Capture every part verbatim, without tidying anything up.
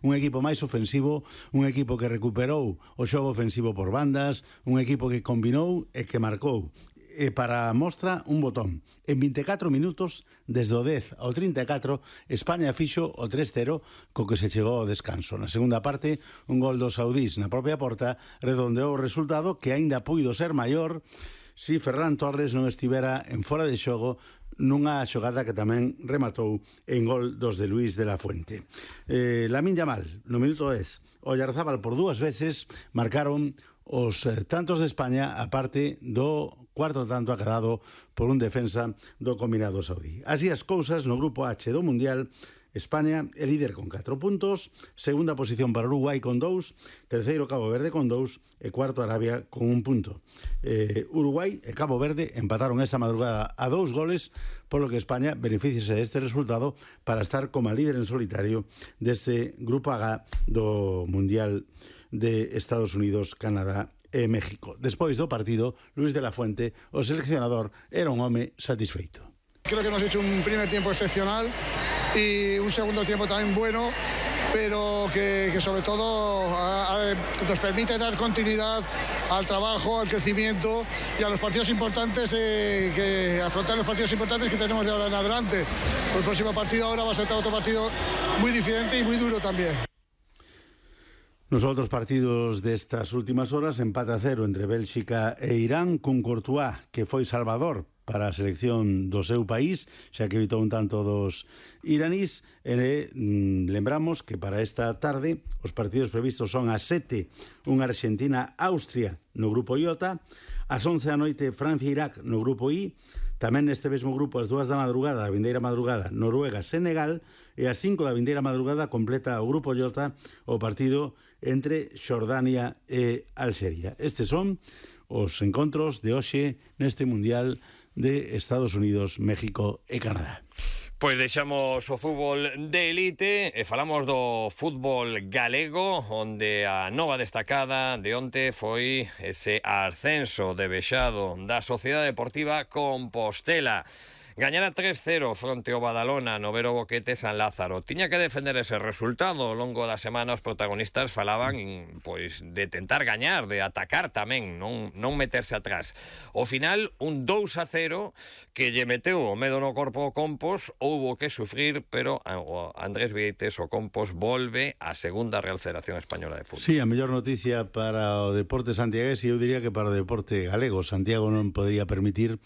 un equipo máis ofensivo, un equipo que recuperou o xogo ofensivo por bandas, un equipo que combinou e que marcou. E para a mostra, un botón. En vinte e catro minutos, desde o dez ao trinta e catro, España fixo o tres cero co que se chegou ao descanso. Na segunda parte, un gol dos saudís na propia porta redondeou o resultado, que aínda puido ser maior si Ferran Torres non estivera en fora de xogo nunha xogada que tamén rematou en gol dos de Luis de la Fuente. Eh, Lamine Yamal, no minuto dez, Oyarzábal por dúas veces marcaron os eh, tantos de España, a parte do cuarto tanto acadado por un defensa do combinado saudí. Así as cousas no grupo H do Mundial, España é líder con catro puntos, segunda posición para Uruguai con dous, terceiro Cabo Verde con dous e cuarto Arabia con un punto. Eh, Uruguai e Cabo Verde empataron esta madrugada a dous goles, polo que España beneficiase deste resultado para estar como líder en solitario deste grupo H do Mundial de Estados Unidos, Canadá e México. Despois do partido, Luis de la Fuente, o seleccionador, era un home satisfeito. Creo que hemos hecho un primer tiempo excepcional y un segundo tiempo también bueno, pero que, que sobre todo a, a, nos permite dar continuidad al trabajo, al crecimiento y a los partidos importantes, eh, que afrontar los partidos importantes que tenemos de ahora en adelante. El próximo partido ahora va a ser otro partido muy diferente y muy duro también. Nos outros partidos destas últimas horas, empate a cero entre Bélxica e Irán, cun Courtois que foi salvador para a selección do seu país, xa que evitou un tanto dos iranís. E mm, lembramos que para esta tarde os partidos previstos son a sete, unha Argentina-Austria no grupo Iota, ás once da noite Francia-Irak no grupo I, tamén neste mesmo grupo ás dúas da madrugada, a vindeira madrugada, Noruega-Senegal, e ás cinco da vindeira madrugada completa o grupo Iota o partido entre Xordania e Alxeria. Estes son os encontros de hoxe neste Mundial de Estados Unidos, México e Canadá. Pois deixamos o fútbol de elite e falamos do fútbol galego, onde a nova destacada de onte foi ese ascenso de vexado da Sociedade Deportiva Compostela. Gañara tres cero fronte ao Badalona no Vero Boquete San Lázaro. Tiña que defender ese resultado. Ao longo da semana os protagonistas falaban pois de tentar gañar, de atacar tamén, non, non meterse atrás. Ao final, un dous a cero que lle meteu o medo no corpo ao Compos, houbo que sufrir, pero o Andrés Vieites, o Compos, volve á segunda Real Federación Española de Fútbol. Sí, a mellor noticia para o deporte santiagués, e eu diría que para o deporte galego. Santiago non podría permitir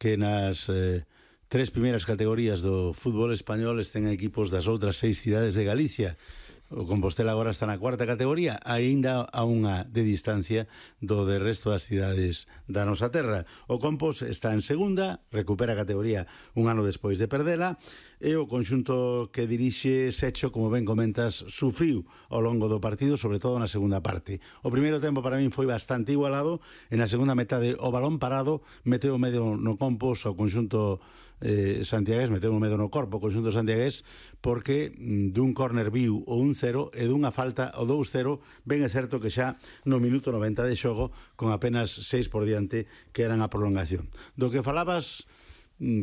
que nas eh, tres primeiras categorías do fútbol español estén equipos das outras seis cidades de Galicia. O Compostela agora está na cuarta categoría, aínda a unha de distancia do de resto das cidades da nosa terra. O Compos está en segunda, recupera a categoría un ano despois de perdela, e o conxunto que dirixe Secho, como ben comentas, sufriu ao longo do partido, sobre todo na segunda parte. O primeiro tempo para min foi bastante igualado, e na segunda metade o balón parado meteu o medio no Compos ao conxunto eh, santiagués, meteu o medio no corpo o conxunto santiagués, porque mm, dun córner viu o un cero e dunha falta o dous cero, ben é certo que xa no minuto noventa de xogo, con apenas seis por diante, que eran a prolongación. Do que falabas,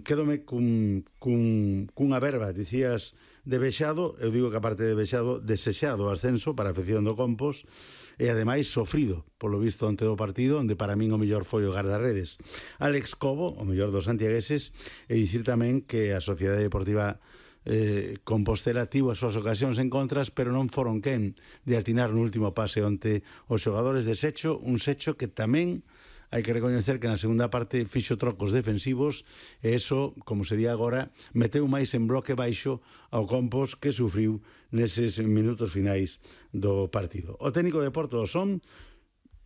quédome cun, cun, cunha verba, dicías de vexado, eu digo que aparte de vexado, desexado o ascenso para a afección do Compos, e ademais sofrido, polo visto ante do partido, onde para min o mellor foi o guardarredes Alex Cobo, o mellor dos santiagueses, e dicir tamén que a Sociedade Deportiva eh, Compostela tivo as súas ocasións en contras, pero non foron quen de atinar no último pase onte os xogadores de Secho, un Secho que tamén hai que recoñecer que na segunda parte fixo trocos defensivos, e eso, como se di agora, meteu máis en bloque baixo ao Compos, que sufriu neses minutos finais do partido. O técnico de Porto do Son,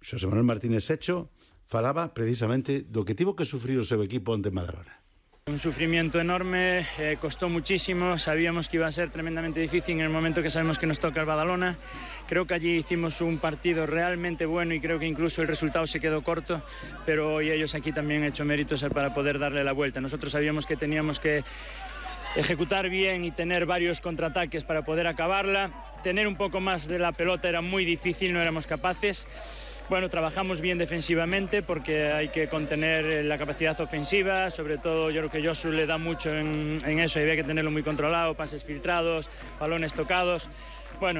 Xosé Manuel Martínez Secho, falaba precisamente do que tivo que sufrir o seu equipo onte en Madrona. Un sufrimiento enorme, eh, costó muchísimo, sabíamos que iba a ser tremendamente difícil en el momento que sabemos que nos toca el Badalona. Creo que allí hicimos un partido realmente bueno y creo que incluso el resultado se quedó corto, pero hoy ellos aquí también han hecho méritos para poder darle la vuelta. Nosotros sabíamos que teníamos que ejecutar bien y tener varios contraataques para poder acabarla. Tener un poco más de la pelota era muy difícil, no éramos capaces. Bueno, trabajamos bien defensivamente porque hay que contener la capacidad ofensiva, sobre todo yo creo que Josu le da mucho en, en eso, y había que tenerlo muy controlado, pases filtrados, balones tocados. Bueno,